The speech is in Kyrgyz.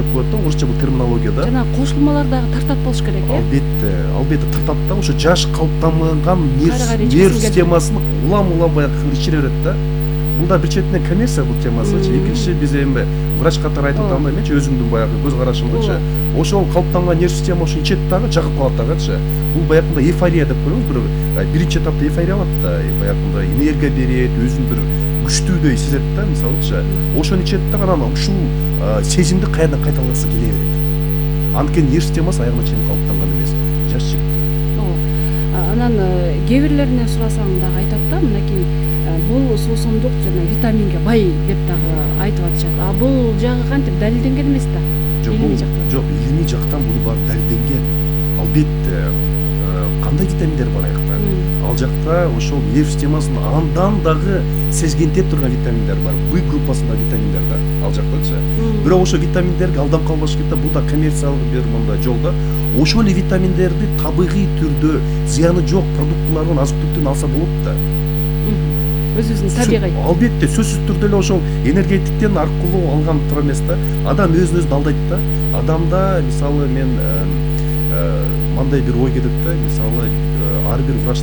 деп коет да, орусча бул терминологияда. Жана кошулмалар дагы тартат болуш керек, Албетте тартат да, ошо жаш калыптанган нерв системасын улам баягы ичире берет да. Бул да бир четинен коммерция бул темасычы. Экинчи биз эми врач катары айтып атам да, менчи өзүмдүн баягы көз карашымдачы. Ошол калыптанган нерв система ошо ичет дагы жагып калат дагычы. Бул баягында эйфория деп коебуз, биринчи этапта эйфория алат да, баягында энергия берет, өзүн бир күчтүүдөй сезет да, мисалычы. Ошону ичет да, анан ушул сезимди кайрадан кайталагысы келе берет. Анткени нерв системасы аягына чейин калыптанган эмес, жаш жигит. Анан кээ бирлерине сурасаң дагы айтат да, мынакей бул суусундук жана витаминге бай деп дагы айтып атышат. Бул жагы кантип далилденген эмес да? Жок, илимий жактан бул баары далилденген. Албетте, кандай витаминдер бар аякта? Ал жакта ошол нерв системасын андан дагы сезгенте турган витаминдер бар. В группасында витаминдер да, ал жактачы. Бирок ошо витаминдерге алданып калбаш керек да, бул да коммерциялык бир мындай жол да. Ошол эле витаминдерди табигый түрдө зыяны жок продуктулардан, азык-түлүктөн алса болот да. Өзүбүздүн табигый. Албетте, сөзсүз түрдө эле ошол энергетиктен аркылуу алган тура эмес да. Адам өзүн алдайт да. Адамда мисалы мен мындай бир ой келет да, мисалы ар бир врач